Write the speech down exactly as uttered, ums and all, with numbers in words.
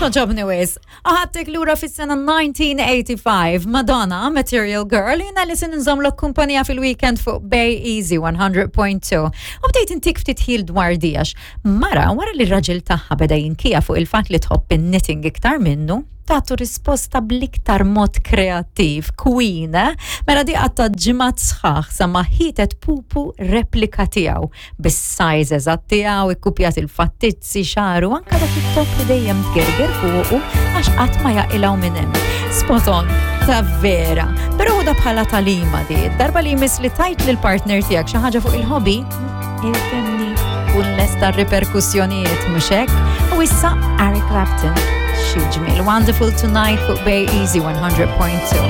Toġobni wis. Ħadtek lura fis-sena elf disa' mija u tmienja u disgħin, Madonna, Material Girl, jiena li se nżommlok kumpanija fil-weekend fuq Bay Easy mija punt tnejn. U bdejt intik ftit ħil dwar dijax. Mara, wara li r-raġel tagħha beda jinkija fuq il-fatt li tħobb in-knitting iktar minnu, tatu risposta bl-iktar mod kreattiv, queen, eh? Mela di qattgħet ġimgħat sħaħ sa ma ħietet pupu replika tiegħu bis-size eżatt tiegħu, ikkupjat il-fattizzi, xaru, anka dak it-top li dejjem tgerger fuqu għax qatt ma jaqilgħu minn hemm. Spot on, ta' vera. Però ħudha bħala tagħlima di, darba li jmiss li tgħid lil partner tiegħek xi ħaġa fuq il-hobby, ifhimni kun lesta riperkussjonijiet, mhux hekk? U issa Eric Clapton. Xi ġmiel. Wonderful Tonight fuq Bay Easy mija punt tnejn.